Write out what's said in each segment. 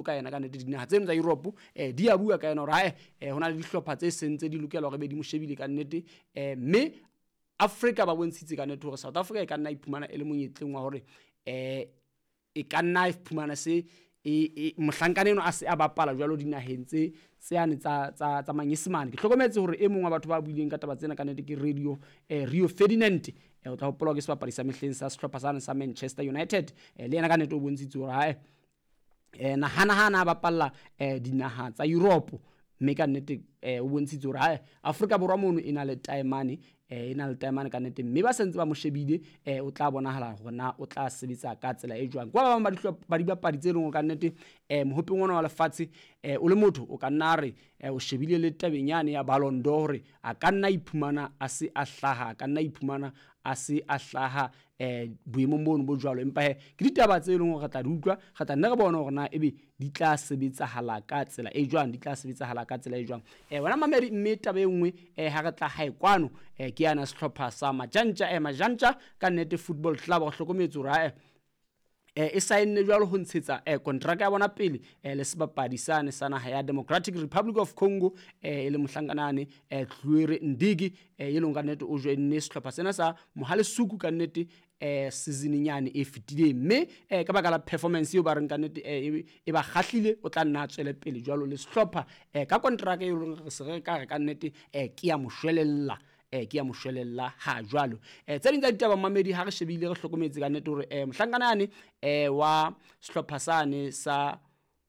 Ka yena ka nnete dinaha tseno tsa Europe di a bua ka yena hore hae ho na le dihlopha tse seng tse di lokela hore be di mo shebile ka nnete, mme Afrika ba bontshitse ka nnete hore South Africa e ka nna iphumana e le monyetleng wa hore e ka nna iphumana se e mohlankana eno a se a bapala jwalo dinaheng tse tseyane tsa manyesemane. Ke hlokometse hore e mong wa batho ba buileng ka taba tsena ka nnete ke Radio Rio Ferdinand, o tla hopola ke sebapadi sa mehleng sa sehlopha sane sa Manchester United, le yena ka nnete o bontshitse hore hae nahana ha na bapalla dinaha tsa Europe, mme ka nnete o bontshitse hore hae Afrika Borwa mono e na le taemane, e na le taemane ka nnete, mme ba sentse ba mo shebile, o tla bonahala hore na o tla sebetsa ka tsela e jwang. Kwa ba bang ba dihlopha ba dibapadi tse leng hore ka nnete mohopeng ona wa lefatshe, o le motho o ka nna re o shebile le tabeng yane ya Ballon d'Or hore a ka nna iphumana a se a hlaha, a ka nna iphumana a se a hlaha boemong bono bo jwalo. Empa he ke ditaba tse leng hore re tla di utlwa, re tla nne re bone hore na ebe di tla sebetsahala ka tsela e jwang, di tla sebetsahala ka tsela e jwang. Wena mamedi, mme taba e nngwe ha re tla hae kwano, ke yana sehlopha sa Majantja, Majantja ka nnete Football Club re hlokometse hore hae e saenne jwalo ho ntshetsa kontraka ya bona pele le sebapadi sane sa naha ya Democratic Republic of Congo, e le mohlankana Tluere Ndigi, e leng ka nnete o joinne sehlopha sena sa Mohale Suku ka nnete season nyane e fetileng, mme ka baka la performance eo ba reng ka nnete e ba kgahlile, o tla nna a tswele pele jwalo le sehlopha ka kontraka e leng re se re ka re ka nnete ke ya moshwelella, ke ya moshwelella ha jwalo. Tse ding tsa ditaba mamedi ha re shebile re hlokometse ka nnete hore mohlankana yane wa sehlopha sane sa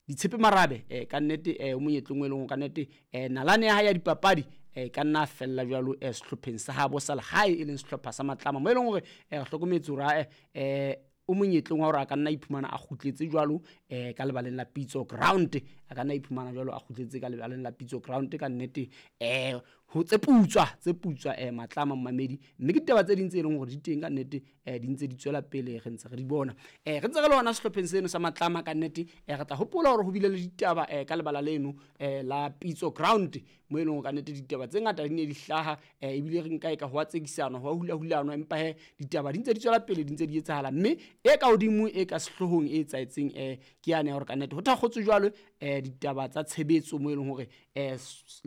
Ditshepe Marabe, ka nnete o monyetleng o e leng ka nnete nalane ya hae ya dipapadi ka nna fella jwalo sehlopheng sa habo sa lehae e leng sehlopha sa Matlama, mo e leng hore re hlokometse hore o monyetleng wa hore a ka nna iphumana a kgutletse jwalo ka lebaleng la Pitso Ground, a ka nna iphumana jwalo a kgutletse ka lebaleng la Pitso Ground ka nnete, ho tse putswa Matlama mamedi. Mme ke ditaba tse ding tse leng hore di teng ka nnete, di ntse di tswela pele, re ntse re di bona, re ntse re le hona sehlopheng seno sa Matlama ka nnete. Re tla hopola hore ho bile le ditaba ka lebala leno la Pitso Ground, mo e leng hore ka nnete ditaba tse ngata di ne di hlaha, ebile re nka e ka ho a tsekisana, ho a hulahulanwa, empa he ditaba di ntse di tswela pele, di ntse di etsahala. Mme e ka hodimo e ka sehloohong e etsahetseng ke yane ya hore ka nnete ho thakgotswe jwalo ditaba tsa tshebetso, mo e leng hore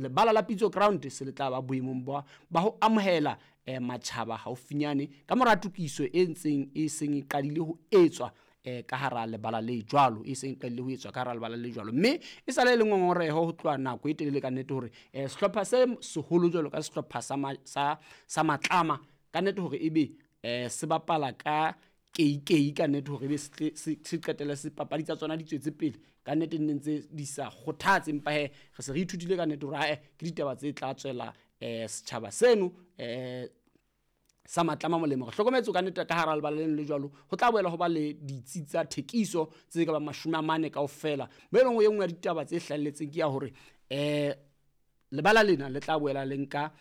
lebala la Pitso Ground se le tla ba boemong ba ho amohela matjhaba haufinyane ka mora tokiso e ntseng e seng e qadile ho etswa ka hara lebala le jwalo, e seng e qadile ho etswa ka hara lebala le jwalo. Mme e sale e le ngongoreho ho tloha nako e telele ka nnete hore sehlopha se seholo jwalo ka sehlopha sa Matlama ka nnete hore ebe se bapala ka keikei ka nnete hore ebe se qetelle se papadi tsa tsona di tswetse pele ka nnete, nne ntse di sa kgothatse. Empa he re se re ithutile ka nnete hore hae ke ditaba tse tla tswela setjhaba seno sa Matlama molemo. Re hlokometse ka nnete ka hara lebala leno le jwalo ho tla boela ho ba le ditsi tsa thekiso tse ka bang 40 kaofela, mo e leng e nngwe ya ditaba tse hlahelletseng ke ya hore lebala lena le tla boela le nka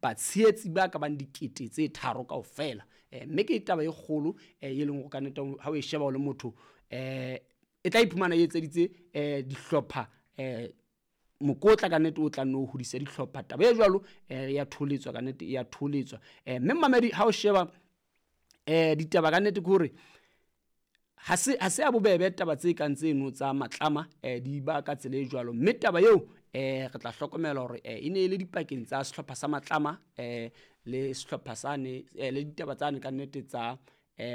batshehetsi ba ka bang 3,000 kaofela, mme ke taba e kgolo e leng hore ka nnete ha o e sheba o le motho, e tla iphumana e etseditse dihlopha mokotla ka nnete o tla nno hodisa dihlopha. Taba e jwalo ya tholetswa ka nnete, ya tholetswa. Mme mamedi ha o sheba ditaba ka nnete ke hore ha se a bobebe taba tse kang tseno tsa Matlama di ba ka tsela e jwalo. Mme taba eo re tla hlokomela hore e ne e le dipakeng tsa sehlopha sa Matlama le sehlopha sane le ditaba tsane ka nnete tsa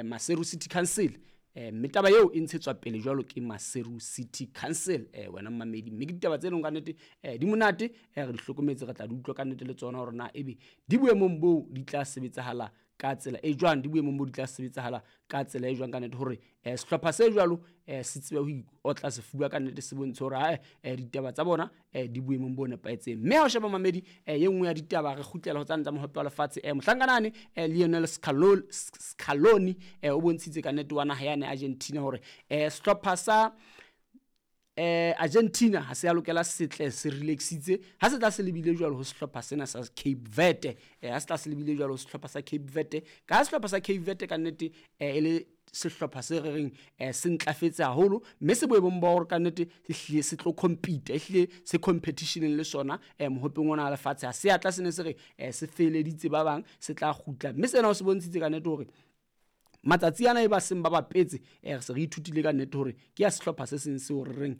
Maseru City Council, mme taba eo e ntshetswa pele jwalo ke Maseru City Council, wena mamedi. Mme ke ditaba tse leng ka nnete di monate, re di hlokometse, re tla di utlwa ka nnete le tsona hore na ebe di boemong boo di tla sebetsahala ka tsela e jwang, di boemong boo di tla sebetsahala ka tsela e jwang ka nnete hore sehlopha se jwalo se tsebe ho iotla sefuba ka nnete, se bontshe hore hae ditaba tsa bona di boemong bo nepahetseng. Mme ha o sheba mamedi, e nngwe ya ditaba re kgutlela ho tsane tsa mohope wa lefatshe, mohlankana Lionel Scaloni o bontshitse ka nnete wa naha yane Argentina hore sehlopha sa Argentina ha se ya lokela setle se relaxitse ha se tla se lebile jwalo ho sehlopha sena sa Cape Verde, ha se tla se lebile jwalo ho sehlopha sa Cape Verde, ka sehlopha sa Cape Verde ka nnete e le sehlopha se re reng se ntlafetse haholo, mme se boemong ba hore ka nnete se hlile se tlo compete, e hlile se competitioneng le sona mohopeng ona wa lefatshe. Ha se ya tla se ne se re se feleditse ba bang, se tla kgutla, mme sena o se bontshitse ka nnete hore matsatsi ana e ba seng ba bapetse, re se re ithutile ka nnete hore ke ya sehlopha se seng seo re reng